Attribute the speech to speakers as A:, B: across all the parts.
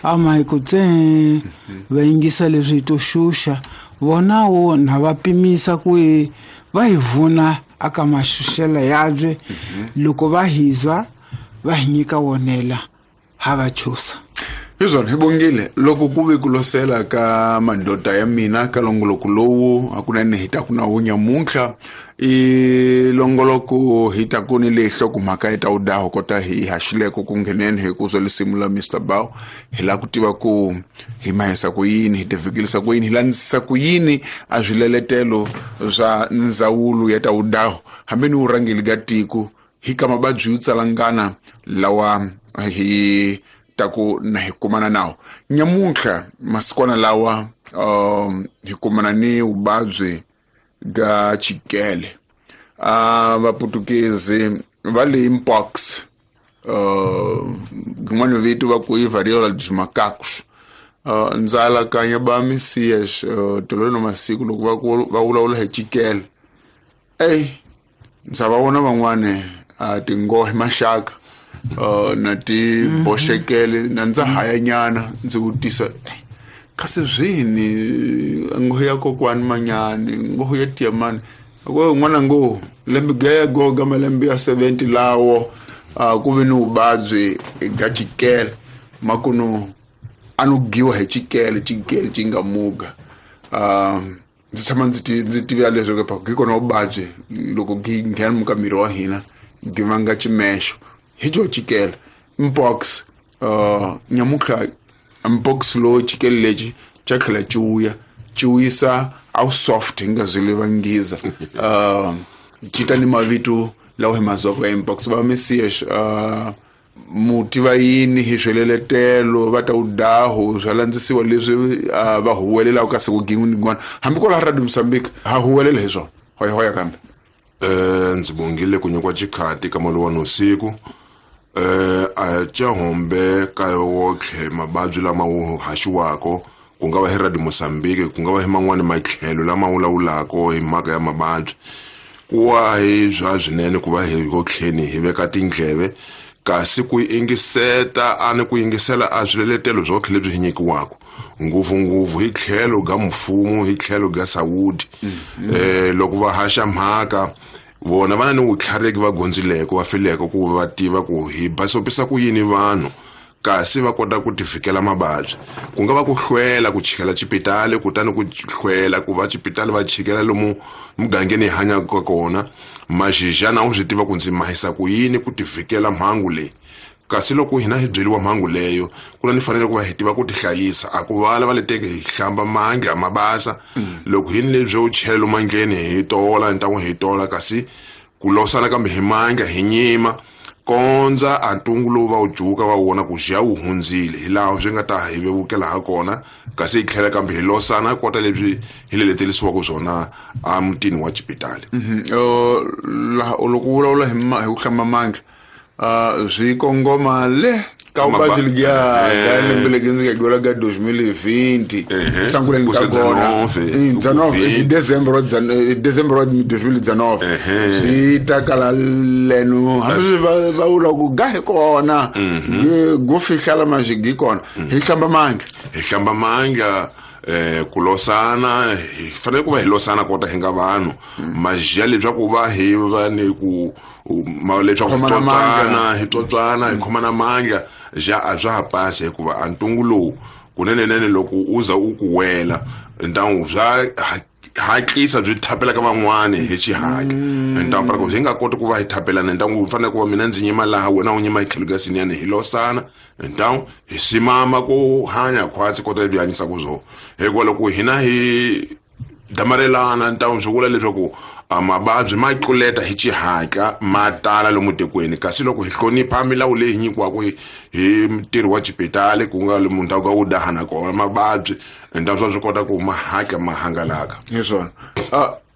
A: A ma hi ku tse va yingisa leswi to xuxa vona wo na va pimisa ku va hi vuna aka maxuxela yabye loko va hizwa va hi nyika wonela ha va chusa.
B: Hi swona hi bongile loko ku ve ku losela ka mandoda ya mina ka longoloko lowu hakunene hi ta ku na wu nyamuntlha i longoloko hi ta ku ni leyi hlokomhaka yi ta wu daho kota hi haxileko ku ngheneni hi ku zwa lisimu la Mr Bow hi lava ku tiva ku hi mahisa ku yini hi tivikilisa ku yini hi landzisa ku yini a swileletelo swa ndzawulo ya ta wudaho hambi ni vurhangeri ga tiko hi ka mavabyi yo tsalangana lawa hi ta ku na hi kumana nawo nyamuntlha masikwana lawa hi kumana ni vuvabyi ga chikele vaputukezi va le mpox rin'wana vito va ku i variola dos macacos ndza alakanya ba mesias tolo na masiku loko va vulavula hi chikele ey ndza va vona van'wani tinghohe maxaka na ti boxekele na ndza hayanyana ndzi vutisa kasi swini nghohe ya kokwani manyani nghohe ya tiyamani ko n'wana ngo lembe gaya goga malembe ya 70 lawo ku ve ni vuvabyi ga chikele makuno a no giwa hi chikele chikele xi nga muga ndzi tshama ndzi tivela leswaku gi kona vuvabyi loko gi nghena muka miri wa hina gi vanga ximexo hi xo chikele mpox nyamuntlha mpox lowu chikele lexi xa tlhela xi vuya xi wisa a wu soft hi nga zile va nghiza xi ta ni mavito lawa hi mazwaka ya mpox va mesias muti va yini hi swileletelo va ta wudaho swa landzisiwa leswi va huwelelaka ka siku gin'we ni gin'wana hambi kwala Radio Mozambique ha huwelela hi swona hoya kambe
C: ndzi bongile ku nyikiwa xikhati ka mali wa nusiku a cahombe ka wotlhe mavabyi lama wu haxiwako ku nga va hi Radio Mozambique ku nga va hi man'wani matlhelo lama vulavulako hi mhaka ya mavabyi ku wa hi swa swinene ku va hi kotlheni hi veka tindleve kasi ku yingiseta a ni ku yingisela a swileletelo swotlhe leswi hi nyikiwaka ngopfungopfu hi tlhelo ga mfumo hi tlhelo ga sawudi loko va haxa mhaka vona va na ni vutlhariki va gondzileko va fileko ku va tiva ku hi basopisa ku yini vanhu kasi va kota ku tivikela mavabyi ku nga va ku hlwela ku chikela xipitali kutani ku hlwela ku va xipitali va chikela lomu mugangeni hi hanyaka kona maxixana wu swi tiva ku ndzi mahisa ku yini ku tivikela mhangu leyi kasi loko hina hi byeriwa mhangu leyo ku na ni fanele ku va hi tiva ku tihlayisa a ku vala va leteke hi hlamba mandla ma basa loko hi ni lebyo u chela lomu mandleni hi tola ntangu hi tola kasi ku losana kambe hi mandla hi nyima kondza a ntungu lowu va wu juka va vona ku xiya wu hundzile hi laha swi nga ta hi vevukela ha kona kasi hi tlhela kambe hi losana kota leswi hi leletelisiwaka swona emutini wa xipitali
B: laha loko u vulavula hi ku hlamba mandla swi kongoma le ka vuvabyi lebyiya ka lembe legi ndzi nga gula ka 2020 sanguleni ka kona hi December wa 2019 swi ta kala leno hambi va vula ku ga hi kona go fihlala maxigi kona hi hlamba mandla
C: hi hlamba mandla ku losana hi fanele ku va hi losana kota hi nga vanhu majiya leswaku va hi va ni ku leswaku hi tswotswana hi khomana mandla ja a swa ha pasi hikuva a ntungu lowu kunenenene loko u za u ku wela ntangu bya hatlisa byi thapela ka van'wani hi xihatla ntangu para ku hi nga koti ku va hi thapelana ntangu u fanele ku va mina ndzi nyima laha wena u nyima hi tlhelo ka siniyani hi losana ntangu hi simama ku hanya khwatsi kota lebyi hanyisaka byona hikuva loko hina hi damarelana ntangu swi vula leswaku mavabyi ma tluleta hi xihatla ma tala lomu tikweni kasi loko hi hlonipha milawu leyi hi nyikiwaka hi ntirho wa xipitali ku nga lomu ndhawu ka wu dahana kona mavabyi ntangu swa swi kota ku ma hatla ma hangalaka
B: hi swona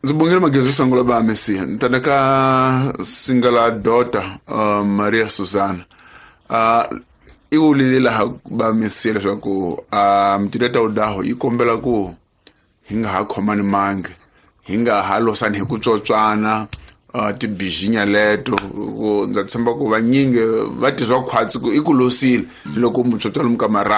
B: ndzi bongile magezi yo sungula va mesiya ni tana ka singala daughter Maria Susana i vulile laha va mesiya leswaku mitirho ya ta wudaho yi kombela ku hi nga ha khomani mandla hi nga ha losani hi ku tswotswana tibijinya leto ndza tshemba ku vanyingi va tizwa khwatsi ku i ku losile loko mutswotswa lomu ka marha.